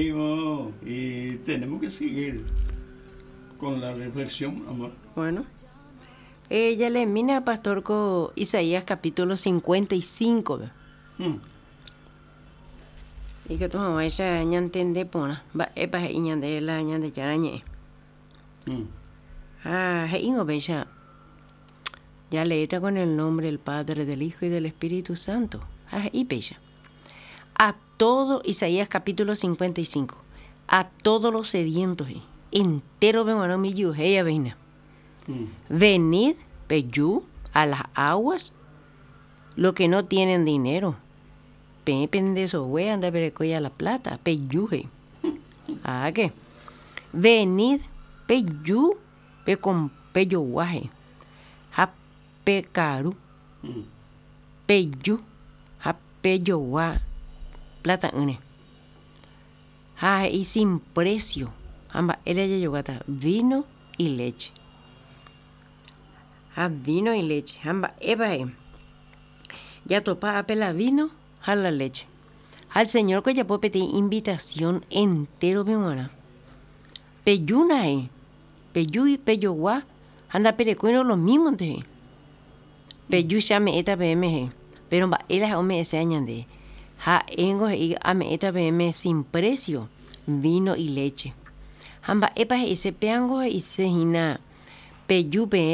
Y tenemos que seguir con la reflexión, amor. Bueno. Eh, ya le mina, pastor, con Isaías capítulo 55. Ikatu hag̃uáicha ñantende porã mba'épa he'i ñande la Ñandejára ñe'ẽ. Ha he'íngo péicha, Jaleéta con el nombre del Padre, del Hijo y del Espíritu Santo. Ha he'i péicha, A todo, Isaías capítulo 55, a todos los sedientos, he'i, entérope g̃uarã umi ijyuhéivape hína, Venid, peju, a las aguas, los que no tienen dinero, peẽ pende sogue ha ndaperekóiva la plata, peju, he'i. Háke, venid, peju, pejogua, he'i, ha pekaru. Peju ha pejogua plata'ỹre. Ha he'i sin precio ha mba'ére jajoguáta vino y leche. Ha vino y leche. Ha mba'épa he'i? Jatopa ápe la vino ha la leche. Ha el Señor ko ojapo peteĩ invitación entérope g̃uarã. Pejúna he'i, peju pejogua ha ndaperekóirõ lo mímonte he'i. Peju che ame'ẽta peẽme he'i, péro mba'e la ome'ẽséva ñande? Ha'éngo he'i ame'ẽta peẽme sin precio vino y leche. Ha mba'épa he'ise? Péango he'ise hína peju peẽ.